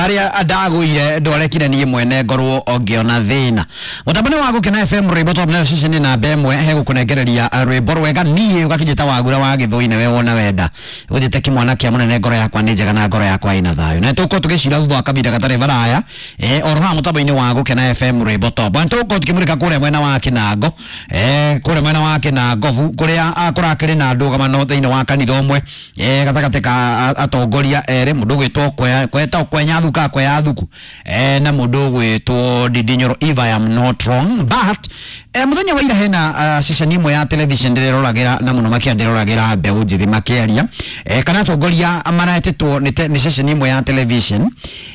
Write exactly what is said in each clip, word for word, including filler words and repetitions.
Baria ndagũire ndwarekire niĩ mwene ngorwo ngĩona thĩna. Mũtambo-inĩ wa Gũkena F M rwĩmbo top nayo ceceni namba ĩmwe hegũkũnengereria rwĩmbo rwega niĩ ũgakĩnjĩta wagura wa gĩthũi nĩwe wona wenda ũnjĩte kĩmwana kĩa mũnene ngoro yakwa nĩ njega na ngoro yakwa ĩna thayũ na tũgũkorwo tũgĩcira thutha wa kahinda gatarĩ baraya eh, oro haha mũtambo-inĩ wa Gũkena F M rwĩmbo top na tũgũkorwo tũkĩmũrĩka kũrĩa mwena wa Kĩnango eh, kũrĩa mwena wa Kĩnangobu kũrĩa ah, kũrakĩrĩ na ndũgamano thĩinĩ wa kanitha ũmwe eh, gatagatĩ ka atongoria erĩ mũndũ ũgwĩtwo kweta kwenya thuka kwea thuku eh, na mũndũ ũgwĩtwo Ndindi Nyoro if I am not wrong but eh, mũthenya wa ira hena uh, ceceni ĩmwe ya television ndĩreroragĩra na mũno makĩria ndĩreroragĩra mbeũ njĩthĩ makĩaria eh, kana atongoria maretĩtwo nĩ ceceni ĩmwe ya television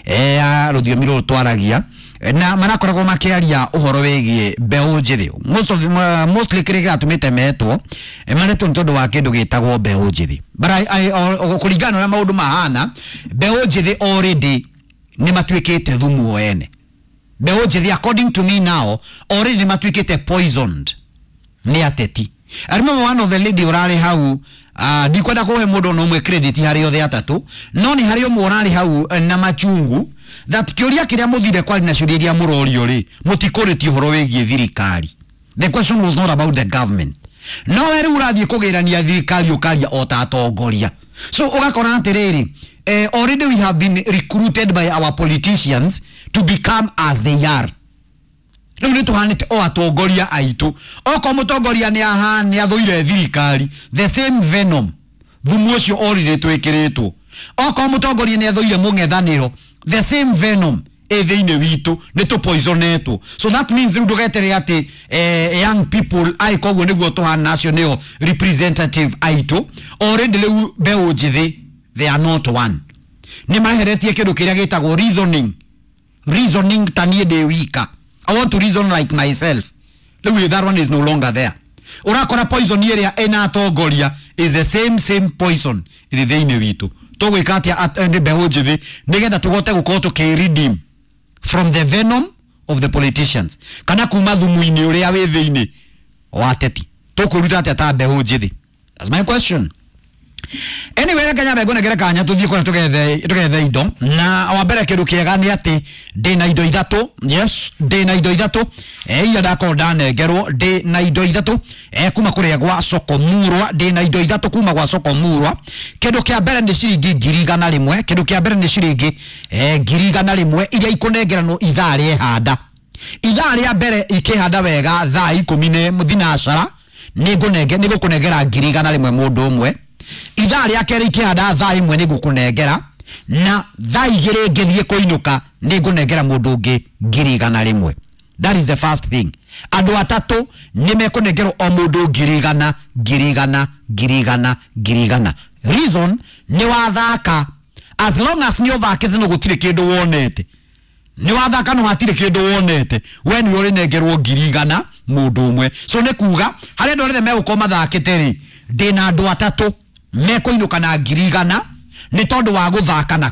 eh, ya rũthiomi rũrũ twaragia na marakoragwo makiaria uhoro wigie mbeũ njĩthĩ most of uh, mostly kĩrĩa kĩratũmĩte metwo maretwo nĩ tondũ wa kĩndũ gĩtagwo mbeũ njĩthĩ but I, I, kũringana na ũrĩa maũndũ mahana mbeũ njĩthĩ already nĩ matuĩkĩte thumu o ene. Mbeũ njĩthĩ according to me now already nĩ matuĩkĩte poisoned nĩ ateti. I remember one of the lady ũrarĩ hau uh, ndikwenda kũhe mũndũ ona ũmwe credit harĩ othe atatũ no nĩ harĩ ũmwe ũrarĩ hau na machungu that kĩũria kĩrĩa mũthire kwari na ciũria iria mũrorio rĩ mũtikũrĩtie ũhoro wĩgiĩ thirikari. The question was not about the government. No we rĩu ũrathiĩ kũgĩrania thirikari ũkaria o ta atongoria. So ũgakora atĩrĩrĩ eh, already we have been recruited by our politicians to become as they are. Rĩu nĩ tũhanĩte o atongoria aitũ. Okorwo mũtongoria nĩ aha nĩ athũire thirikari the same venom thumu ũcio already twĩkĩrĩtwo. Okorwo mũtongoria nĩ athũire mũng'ethanĩro the same venom ĩ thĩinĩ witũ nĩ tũpoisonetwo. So that means rĩu ndũgetere atĩ eh, young people ai koguo nĩguo tũhana acio nĩo representative aitũ. Already rĩu mbeũ njĩthĩ they are not one. Nĩ maheretie kĩndũ kĩrĩa gĩtagwo reasoning. Reasoning ta niĩ ndĩ wika. I want to reason like myself. Rĩu that one is no longer there. Ũrakora poison ĩrĩa ĩna atongoria is the same same poison ĩrĩ thĩinĩ witũ. Tũgwĩka atĩa nĩ mbeũ njĩthĩ nĩgetha tũhote gũkorwo tũkĩ redeem from the venom of the politicians kana kuma thumu-inĩ ũrĩa wĩ thĩinĩ wa ateti. Tũkwĩruta atĩa ta mbeũ njĩthĩ? That's my question. Anyway, reke nyambe ngũnengere kanya tũthiĩ kũrĩa tũgethe tũgethe indo na wa mbere kĩndũ kĩega nĩ atĩ ndĩ na indo ithatũ. Yes, ndĩ na indo ithatũ eh iria ndakorwo ndanengerwo ndĩ na indo ithatũ eh kuma kũrĩa gwa Soko Murwa. Ndĩ na indo ithatũ kuma gwa Soko Murwa. Kĩndũ kĩa mbere nĩ ciringi ngiri igana rĩmwe. Kĩndũ kĩa mbere nĩ ciringi eh ngiri igana rĩmwe iria ikũnengeranwo ithaa rĩehanda. Ithaa rĩa mbere ikĩhanda wega thaa ikũmi na thinacara nĩ ngũnenge nĩ gũkũnengera ngiri igana rĩmwe mũndũ ũmwe. Ithaa rĩa kerĩ ikĩhanda thaa ĩmwe nĩ ngũkũnengera na thaa igĩrĩ ngĩthiĩ kũinũka nĩ ngũnengera mũndũ ũngĩ ngiri igana rĩmwe. That is the first thing. Andũ atatũ nĩ mekũnengerwo o mũndũ ngiri igana ngiri igana ngiri igana ngiri igana. Reason nĩ wathaka as long as nĩ ũthakĩte no gũtirĩ kĩndũ wonete. Nĩ wathaka no hatirĩ kĩndũ wonete we nĩ ũrĩnengerwo ngiri igana mũndũ ũmwe. So nĩ kuga harĩa andũ arĩa megũkorwo mathakĩte rĩ ndĩ na andũ atatũ mekũinũka na ngiri igana nĩ tondũ wa gũthaka na